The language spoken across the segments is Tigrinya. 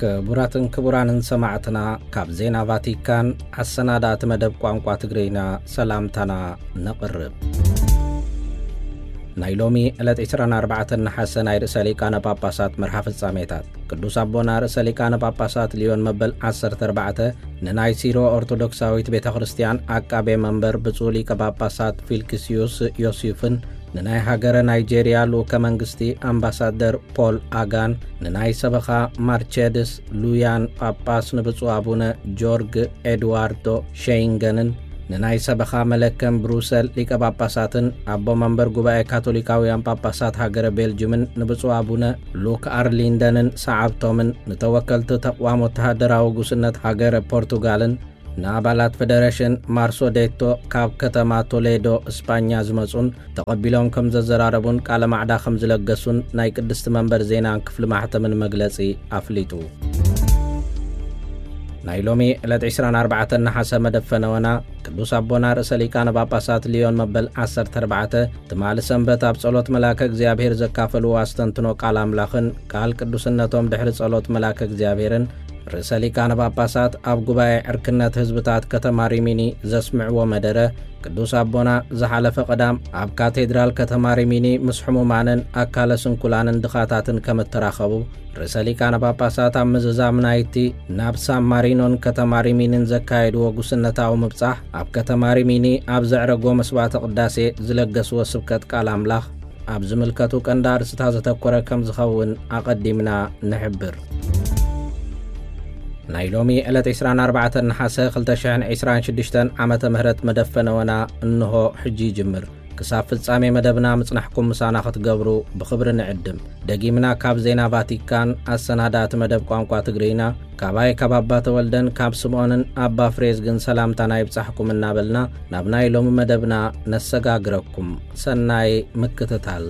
ክቡራትን ክቡራንን ሰማዕትና፣ ካብ ዜና ቫቲካን ኣሰናዳእቲ መደብ ቋንቋ ትግርኛ ሰላምታና ነቕርብ። ናይ ሎሚ ዕለት ዕስራን ኣርባዕተን ነሓሰ ናይ ርእሰ ሊቃነ ጳጳሳት መርሃ ፍጻሜታት። ቅዱስ ኣቦና ርእሰ ሊቃነ ጳጳሳት ሊዮን መበል ዓሰርተ ኣርባዕተ ንናይ ሲሮ ኦርቶዶክሳዊት ቤተ ክርስቲያን ዓቃቤ መንበር ብፁዕ ሊቀ ጳጳሳት ፊልክስዩስ ዮሲፍን ንናይ ሃገረ ናይጄርያ ልኡከ መንግስቲ ኣምባሳደር ፖል ኣጋን፣ ንናይ ሰበኻ ማርቸድስ ሉያን ጳጳስ ንብፁዕ ኣቡነ ጆርግ ኤድዋርዶ ሸይንገንን፣ ንናይ ሰበኻ መለከም ብሩሰል ሊቀ ጳጳሳትን ኣቦ መንበር ጉባኤ ካቶሊካውያን ጳጳሳት ሃገረ ቤልጅምን ንብፁዕ ኣቡነ ሉክ ኣርሊንደንን ሰዓብቶምን፣ ንተወከልቲ ተቕዋም ወተሃደራዊ ጉስነት ሃገረ ፖርቱጋልን፣ ንኣባላት ፈደረሽን ማርሶዴቶ ካብ ከተማ ቶሌዶ እስጳኛ ዝመጹን ተቐቢሎም ከም ዘዘራረቡን ቃለ ማዕዳ ከም ዝለገሱን ናይ ቅድስቲ መንበር ዜናን ክፍሊ ማሕተምን መግለጺ ኣፍሊጡ። ናይ ሎሚ ዕለት ዕስራን ኣርባዕተን ነሓሰ መደብ ፈነወና ቅዱስ ኣቦና ርእሰ ሊቃነ ጳጳሳት ሊዮን መበል ዓሰርተ ኣርባዕተ ትማሊ ሰንበት ኣብ ጸሎት መልኣከ እግዚኣብሔር ዘካፈልዎ ኣስተንትኖ ቃል ኣምላኽን ቃል ቅዱስነቶም ድሕሪ ጸሎት መልኣከ እግዚኣብሔርን ርእሰ ሊቃነ ጳጳሳት ኣብ ጉባኤ ዕርክነት ህዝብታት ከተማ ሪሚኒ ዘስምዕዎ መደረ፣ ቅዱስ ኣቦና ዝሓለፈ ቀዳም ኣብ ካቴድራል ከተማ ሪሚኒ ምስ ሕሙማንን ኣካለ ስንኩላንን ድኻታትን ከም እተራኸቡ፣ ርእሰ ሊቃነ ጳጳሳት ኣብ ምዝዛም ናይቲ ናብ ሳን ማሪኖን ከተማ ሪሚኒን ዘካየድዎ ጉስነታዊ ምብጻሕ፣ ኣብ ከተማ ሪሚኒ ኣብ ዘዕረጎ መስዋዕተ ቅዳሴ ዝለገስዎ ስብከት ቃል ኣምላኽ፣ ኣብ ዝምልከቱ ቀንዲ ኣርእስታት ዘተኮረ ከም ዝኸውን ኣቐዲምና ንሕብር። ናይ ሎሚ ዕለት ዕስራን ኣርባዕተን ነሓሰ ክልተ ሽሕን ዕስራን ሽዱሽተን ዓመተ ምህረት መደብ ፈነወና እንሆ ሕጂ ይጅምር። ክሳብ ፍጻሜ መደብና ምጽናሕኩም ምሳና ክትገብሩ ብኽብሪ ንዕድም። ደጊምና ካብ ዜና ቫቲካን ኣሰናዳእቲ መደብ ቋንቋ ትግርይና፣ ካባይ ካብ ኣባ ተወልደን ካብ ስምዖንን ኣባ ፍሬዝግን ሰላምታና ይብጻሕኩም እናበልና፣ ናብ ናይ ሎሚ መደብና ነሰጋግረኩም። ሰናይ ምክትታል።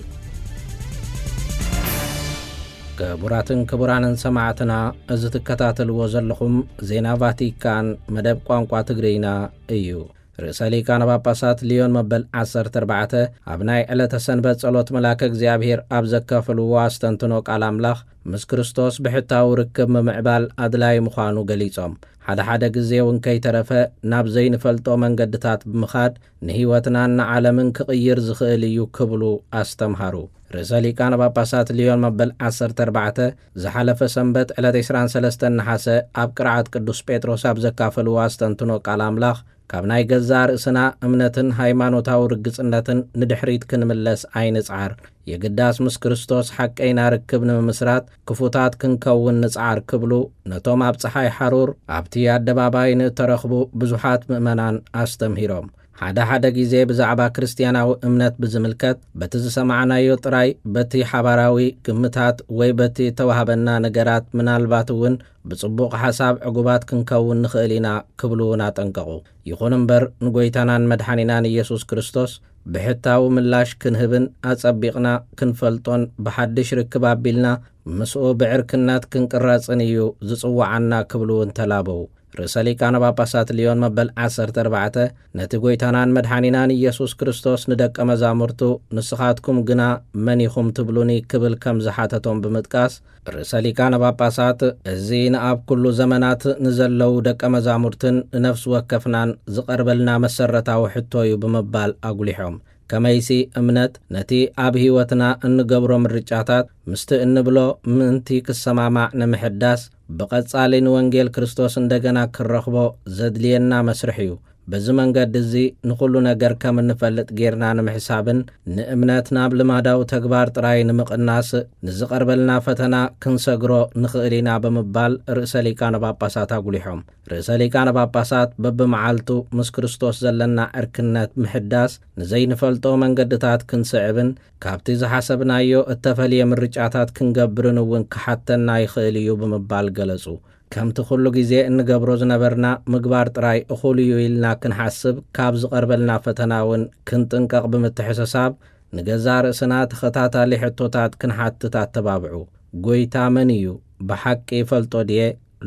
ክቡራትን ክቡራንን ሰማዕትና፣ እዚ ትከታተልዎ ዘለኹም ዜና ቫቲካን መደብ ቋንቋ ትግርይና እዩ። ርእሰ ሊቃነ ጳጳሳት ሊዮን መበል ዓሰርተ ኣርባዕተ ኣብ ናይ ዕለተ ሰንበት ጸሎት መልኣከ እግዚኣብሔር ኣብ ዘካፈልዎ ኣስተንትኖ ቃል ኣምላኽ፣ ምስ ክርስቶስ ብሕታዊ ርክብ ምምዕባል ኣድላዪ ምዃኑ ገሊጾም፣ ሓደ ሓደ ግዜ እውን ከይተረፈ ናብ ዘይንፈልጦ መንገድታት ብምኻድ ንህይወትናን ንዓለምን ክቕይር ዝኽእል እዩ ክብሉ ኣስተምሃሩ። ርእሰ ሊቃነ ጳጳሳት ሊዮን መበል ዓሰርተ ኣርባዕተ ዝሓለፈ ሰንበት ዕለት ዕስራን ሰለስተን ነሓሰ ኣብ ቅርዓት ቅዱስ ጴጥሮስ ኣብ ዘካፈልዎ ኣስተንትኖ ቃል ኣምላኽ፣ ካብ ናይ ገዛእ ርእስና እምነትን ሃይማኖታዊ ርግጽነትን ንድሕሪት ክንምለስ ኣይንጽዓር። የግዳስ ምስ ክርስቶስ ሓቀይና ርክብ ንምምስራት ክፉታት ክንከውን ንጽዓር ክብሉ ነቶም ኣብ ጸሓይ ሓሩር ኣብቲ ኣደባባይ ንእተረኽቡ ብዙሓት ምእመናን ኣስተምሂሮም። ሓደ ሓደ ግዜ ብዛዕባ ክርስትያናዊ እምነት ብዝምልከት በቲ ዝሰማዕናዮ ጥራይ በቲ ሓባራዊ ግምታት ወይ በቲ እተዋህበና ነገራት ምናልባት እውን ብጽቡቕ ሓሳብ ዕጉባት ክንከውን ንኽእል ኢና ክብሉ እውን ኣጠንቀቑ። ይኹን እምበር ንጎይታናን መድሓኒናን ኢየሱስ ክርስቶስ ብሕታዊ ምላሽ ክንህብን ኣጸቢቕና ክንፈልጦን ብሓድሽ ርክብ ኣቢልና ምስኡ ብዕርክነት ክንቅረጽን እዩ ዝጽውዓና ክብሉ እውን ተላበዉ። ርእሰ ሊቃነ ጳጳሳት ሊዮን መበል ዓሰርተ ኣርባዕተ ነቲ ጎይታናን መድሓኒናን ኢየሱስ ክርስቶስ ንደቀ መዛሙርቱ ንስኻትኩም ግና መን ኢኹም ትብሉኒ ክብል ከም ዝሓተቶም ብምጥቃስ፣ ርእሰ ሊቃነ ጳጳሳት እዚ ንኣብ ኩሉ ዘመናት ንዘለዉ ደቀ መዛሙርትን ንነፍሲ ወከፍናን ዝቐርበልና መሰረታዊ ሕቶ እዩ ብምባል ኣጉሊሖም። ከመይሲ እምነት ነቲ ኣብ ህይወትና እንገብሮ ምርጫታት ምስቲ እንብሎ ምእንቲ ክሰማማዕ ንምሕዳስ ብቐጻሊ ንወንጌል ክርስቶስ እንደገና ክንረኽቦ ዘድልየና መስርሕ እዩ። በዚ መንገዲ እዚ ንኹሉ ነገር ከም እንፈልጥ ጌርና ንምሕሳብን ንእምነት ናብ ልማዳዊ ተግባር ጥራይ ንምቕናስ ንዝቐርበልና ፈተና ክንሰግሮ ንኽእል ኢና ብምባል ርእሰ ሊቃነ ጳጳሳት ኣጉሊሖም። ርእሰ ሊቃነ ጳጳሳት በብመዓልቱ ምስ ክርስቶስ ዘለና ዕርክነት ምሕዳስ ንዘይንፈልጦ መንገድታት ክንስዕብን ካብቲ ዝሓሰብናዮ እተፈልየ ምርጫታት ክንገብርን እውን ክሓተና ይኽእል እዩ ብምባል ገለጹ። ከምቲ ኩሉ ግዜ እንገብሮ ዝነበርና ምግባር ጥራይ እኹል እዩ ኢልና ክንሓስብ ካብ ዝቐርበልና ፈተና እውን ክንጥንቀቕ ብምትሕስሳብ፣ ንገዛእ ርእስና ተኸታታሊ ሕቶታት ክንሓትት ኣተባብዑ። ጎይታ መን እዩ? ብሓቂ ይፈልጦ ድየ?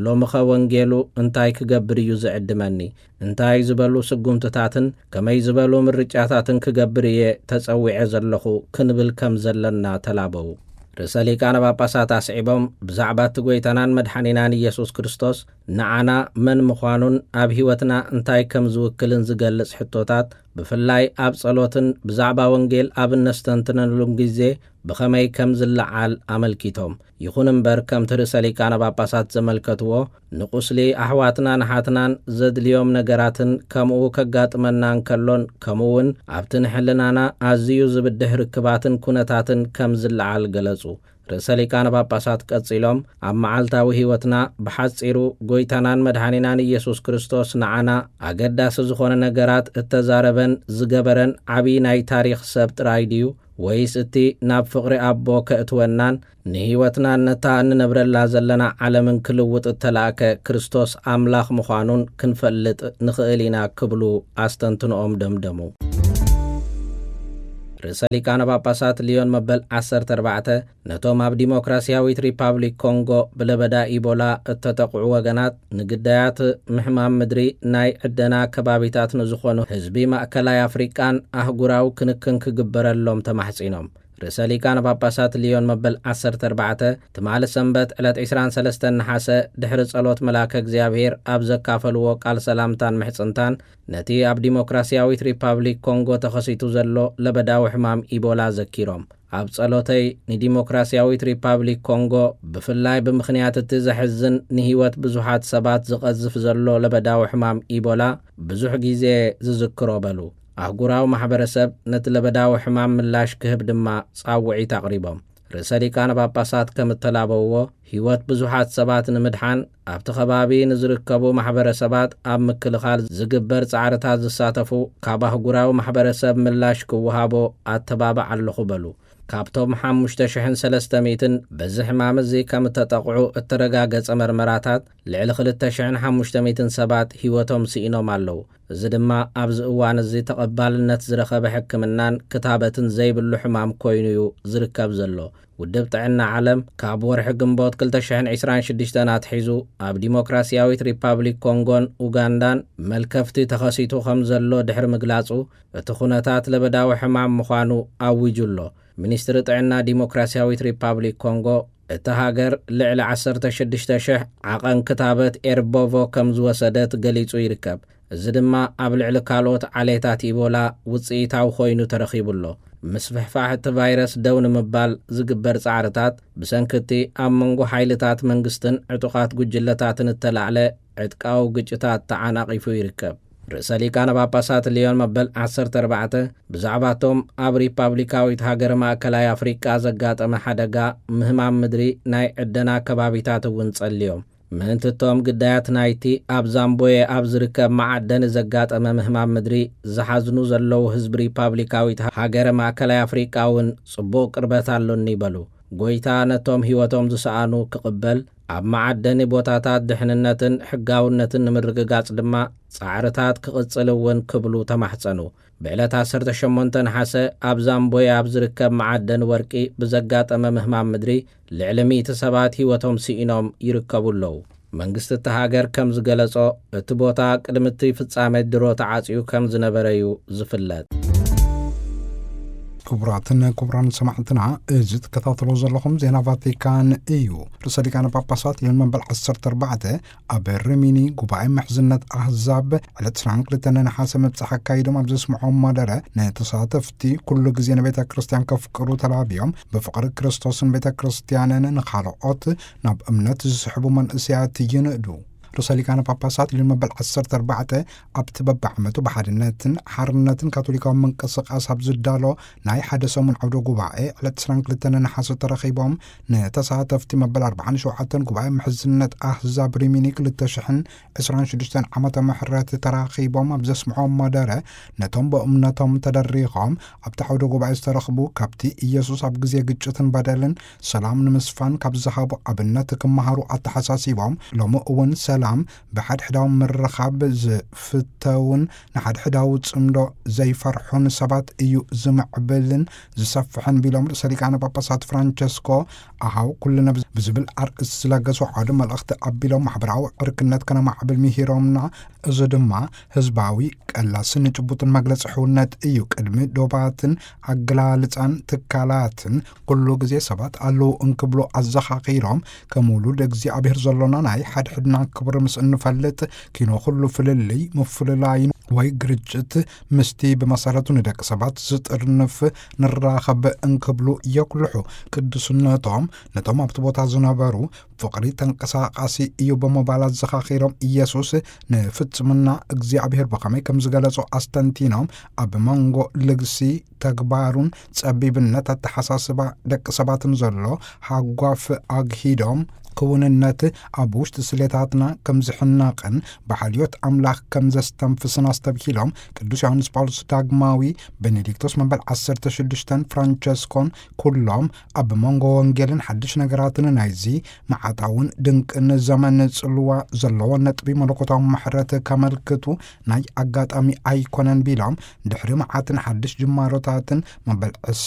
ሎምኸ ወንጌሉ እንታይ ክገብር እዩ ዝዕድመኒ? እንታይ ዝበሉ ስጉምትታትን ከመይ ዝበሉ ምርጫታትን ክገብር እየ ተጸዊዐ ዘለኹ? ክንብል ከም ዘለና ተላበዉ። ርእሰ ሊቃነ ጳጳሳት ኣስዒቦም፣ ብዛዕባ እቲ ጐይታናን መድሓኒናን ኢየሱስ ክርስቶስ ንዓና መን ምዃኑን ኣብ ህይወትና እንታይ ከም ዝውክልን ዝገልጽ ሕቶታት፣ ብፍላይ ኣብ ጸሎትን ብዛዕባ ወንጌል ኣብ እነስተንትነሉን ግዜ ብኸመይ ከም ዝለዓል ኣመልኪቶም። ይኹን እምበር፣ ከምቲ ርእሰ ሊቃነ ጳጳሳት ዘመልከትዎ፣ ንቁስሊ ኣሕዋትናን ኣሓትናን ዘድልዮም ነገራትን ከምኡ ከጋጥመና እንከሎን፣ ከምኡ እውን ኣብቲ ንሕልናና ኣዝዩ ዝብድህ ርክባትን ኩነታትን ከም ዝለዓል ገለጹ። ርእሰ ሊቃነ ጳጳሳት ቀጺሎም፣ ኣብ መዓልታዊ ህይወትና ብሓጺሩ ጐይታናን መድሓኒናን ኢየሱስ ክርስቶስ ንዓና ኣገዳሲ ዝኾነ ነገራት እተዛረበን ዝገበረን ዓብዪ ናይ ታሪኽ ሰብ ጥራይ ድዩ? ወይስ እቲ ናብ ፍቕሪ ኣቦ ከእትወናን ንህይወትና ነታ እንነብረላ ዘለና ዓለምን ክልውጥ እተላእከ ክርስቶስ ኣምላኽ ምዃኑን ክንፈልጥ ንኽእል ኢና ክብሉ ኣስተንትኖኦም ደምደሙ። ርእሰ ሊቃነ ጳጳሳት ሊዮን መበል ዓሰርተ ኣርባዕተ ነቶም ኣብ ዲሞክራሲያዊት ሪፓብሊክ ኮንጎ ብለበዳ ኢቦላ እተጠቕዑ ወገናት፣ ንግዳያት ምሕማም ምድሪ ናይ ዕደና ከባቢታት ንዝኾኑ ህዝቢ ማእከላይ ኣፍሪቃን ኣህጉራዊ ክንክን ክግበረሎም ተማሕጺኖም። ርእሰ ሊቃነ ጳጳሳት ሊዮን መበል ዓሰርተ ኣርባዕተ ትማሊ ሰንበት ዕለት ዕስራን ሰለስተን ነሓሰ ድሕሪ ጸሎት መልኣከ እግዚኣብሔር ኣብ ዘካፈልዎ ቃል ሰላምታን ምሕጽንታን፣ ነቲ ኣብ ዲሞክራሲያዊት ሪፓብሊክ ኮንጎ ተኸሲቱ ዘሎ ለበዳዊ ሕማም ኢቦላ ዘኪሮም፣ ኣብ ጸሎተይ ንዲሞክራሲያዊት ሪፓብሊክ ኮንጎ፣ ብፍላይ ብምኽንያት እቲ ዘሕዝን ንህይወት ብዙሓት ሰባት ዝቐዝፍ ዘሎ ለበዳዊ ሕማም ኢቦላ ብዙሕ ግዜ ዝዝክሮ በሉ። ኣህጉራዊ ማሕበረሰብ ነቲ ለበዳዊ ሕማም ምላሽ ክህብ ድማ ጻውዒት ኣቕሪቦም። ርእሰ ሊቃነ ጳጳሳት ከም እተላበውዎ፣ ህይወት ብዙሓት ሰባት ንምድሓን ኣብቲ ከባቢ ንዝርከቡ ማሕበረሰባት ኣብ ምክልኻል ዝግበር ጻዕርታት ዝሳተፉ ካብ ኣህጉራዊ ማሕበረሰብ ምላሽ ክወሃቦ ኣተባብዕ ኣለኹ በሉ። ካብቶም ሓሙሽተ ሽሕን ሰለስተ ሚእትን በዚ ሕማም እዚ ከም እተጠቕዑ እተረጋገጸ መርመራታት፣ ልዕሊ ክልተ ሽሕን ሓሙሽተ ሚእትን ሰባት ህይወቶም ስኢኖም ኣለዉ። እዚ ድማ ኣብዚ እዋን እዚ ተቐባልነት ዝረኸበ ሕክምናን ክታበትን ዘይብሉ ሕማም ኮይኑ'ዩ ዝርከብ ዘሎ። ውድብ ጥዕና ዓለም ካብ ወርሒ ግንቦት ክልተ ሽሕን ዕስራን ሽዱሽተን ኣትሒዙ ኣብ ዲሞክራሲያዊት ሪፓብሊክ ኮንጎን ኡጋንዳን መልከፍቲ ተኸሲቱ ከም ዘሎ ድሕሪ ምግላጹ፣ እቲ ኩነታት ለበዳዊ ሕማም ምዃኑ ኣዊጁ ኣሎ። ሚኒስትሪ ጥዕና ዲሞክራሲያዊት ሪፓብሊክ ኮንጎ፣ እታ ሃገር ልዕሊ ዓሰርተ ሽዱሽተ ሽሕ ዓቐን ክታበት ኤርቦቮ ከም ዝወሰደት ገሊጹ ይርከብ። እዚ ድማ ኣብ ልዕሊ ካልኦት ዓሌታት ኢቦላ ውጽኢታዊ ኮይኑ ተረኺቡ ኣሎ። ምስፍሕፋሕ እቲ ቫይረስ ደው ንምባል ዝግበር ጻዕርታት፣ ብሰንኪ እቲ ኣብ መንጎ ሓይልታት መንግስትን ዕጡቓት ጉጅለታትን እተላዕለ ዕጥቃዊ ግጭታት ተዓናቒፉ ይርከብ። ርእሰ ሊቃነ ጳጳሳት ሊዮን መበል ዓሰርተ ኣርባዕተ ብዛዕባቶም ኣብ ሪፓብሊካዊት ሃገር ማእከላይ ኣፍሪቃ ዘጋጠመ ሓደጋ ምህማም ምድሪ ናይ ዕደና ከባቢታት እውን ጸልዮም። ምእንቲ እቶም ግዳያት ናይቲ ኣብ ዛምቦየ ኣብ ዝርከብ መዓደኒ ዘጋጠመ ምህማም ምድሪ ዝሓዝኑ ዘለዉ ህዝቢ ሪፓብሊካዊት ሃገረ ማእከላይ ኣፍሪቃ እውን ጽቡቕ ቅርበት ኣሎኒ በሉ። ጐይታ ነቶም ህይወቶም ዝሰኣኑ ክቕበል፣ ኣብ መዓደኒ ቦታታት ድሕንነትን ሕጋውነትን ንምርግጋጽ ድማ ጻዕርታት ክቕጽል እውን ክብሉ ተማሕጸኑ። ብዕለት ዓሰርተ ሸሞንተ ነሓሰ ኣብ ዛምቦየ ኣብ ዝርከብ መዓደኒ ወርቂ ብዘጋጠመ ምህማም ምድሪ ልዕሊ ሚእቲ ሰባት ህይወቶም ስኢኖም ይርከቡ ኣለዉ። መንግስቲ እታ ሃገር ከም ዝገለጾ፣ እቲ ቦታ ቅድሚ እቲ ፍጻመ ድሮ ተዓጽዩ ከም ዝነበረ እዩ ዝፍለጥ። ክቡራትን ክቡራን ሰማዕትና፣ እዚ ትከታተሎ ዘለኹም ዜና ቫቲካን እዩ። ርእሰ ሊቃነ ጳጳሳት ሊዮን መበል ዓሰርተ ኣርባዕተ ኣብ ሪሚኒ ጉባኤ ምሕዝነት ኣህዛብ ዕለት ዕስራን ክልተን ነሓሰ መብጽዓ ኣካይዶም ኣብ ዘስምዖም መደረ፣ ንተሳተፍቲ ኩሉ ግዜ ንቤተ ክርስቲያን ከፍቅሩ ተላብዮም፣ ብፍቕሪ ክርስቶስን ቤተ ክርስቲያንን ንኻልኦት ናብ እምነት ዝስሕቡ መንእሰያት ይንእዱ። ርእሰ ሊቃነ ጳጳሳት ሊዮን መበል ዓሰርተ ኣርባዕተ ኣብቲ በብዓመቱ ብሓድነትን ሓርነትን ካቶሊካዊ ምንቅስቃስ ኣብ ዝዳሎ ናይ ሓደ ሰሙን ዓውደ ጉባኤ ዕለት ዕስራን ክልተን ነሓሰ ተረኺቦም፣ ንተሳተፍቲ መበል ኣርባዓን ሸውዓተን ጉባኤ ምሕዝነት ኣህዛብ ሪሚኒ ክልተ ሽሕን ዕስራን ሽዱሽተን ዓመተ ምሕረት ተራኺቦም ኣብ ዘስምዖም መደረ፣ ነቶም ብእምነቶም ተደሪኾም ኣብቲ ዓውደ ጉባኤ ዝተረኽቡ፣ ካብቲ ኢየሱስ ኣብ ግዜ ግጭትን በደልን ሰላም ንምስፋን ካብ ዝሃቦ ኣብነት ክመሃሩ ኣተሓሳሲቦም፣ ሎሚ እውን ሰላም ሰላም ብሓድሕዳዊ ምርኻብ ዝፍተውን ንሓድሕዳዊ ጽምዶ ዘይፈርሑን ሰባት እዩ ዝምዕብልን ዝሰፍሕን ቢሎም ርእሰ ሊቃነ ጳጳሳት ፍራንቸስኮ ኣሃው ኩልነ ብዝብል ኣርእስቲ ዝለገሱ ሓደ መልእኽቲ ኣቢሎም ማሕበራዊ ዕርክነት ከነማዕብል ምሂሮምና። እዚ ድማ ህዝባዊ ቀላስን ጭቡጥን መግለጺ ሕውነት እዩ። ቅድሚ ዶባትን ኣገላልጻን ትካላትን ኩሉ ግዜ ሰባት ኣለዉ እንክብሉ ኣዘኻኺሮም፣ ከም ውሉድ እግዚኣብሔር ዘሎና ናይ ሓድሕድና ክብሪ ምስ እንፈልጥ ኪኖ ኩሉ ፍልልይ ምፍልላይን ወይ ግርጭት ምስቲ ብመሰረቱ ንደቂ ሰባት ዝጥርንፍ ንራኸብ እንክብሉ የጉልሑ። ቅዱስነቶም ነቶም ኣብቲ ቦታ ዝነበሩ ፍቕሪ ተንቀሳቓሲ እዩ ብምባል ኣዘኻኺሮም፣ ኢየሱስ ንፍጽምና እግዚኣብሔር ብኸመይ ከም ዝገለጾ ኣስተንቲኖም፣ ኣብ መንጎ ልግሲ ተግባሩን ጸቢብነት ኣተሓሳስባ ደቂ ሰባትን ዘሎ ሃጓፍ ኣግሂዶም፣ ክውንነት ኣብ ውሽጢ ስሌታትና ከም ዝሕነቕን ብሓልዮት ኣምላኽ ከም ዘስተንፍስን ኣስተብሂሎም፣ ቅዱስ ዮሃንስ ጳውሎስ ዳግማዊ፣ ቤኔዲክቶስ መበል ዓሰርተ ሽዱሽተን ፍራንቸስኮን ኩሎም ኣብ መንጎ ወንጌልን ሓድሽ ነገራትን ናይዚ መዓታውን ድንቅን ዘመን ጽልዋ ዘለዎ ነጥቢ መለኮታዊ ምሕረት ከመልክቱ ናይ ኣጋጣሚ ኣይኮነን ቢሎም፣ ድሕሪ መዓትን ሓድሽ ጅማሮታትን መበል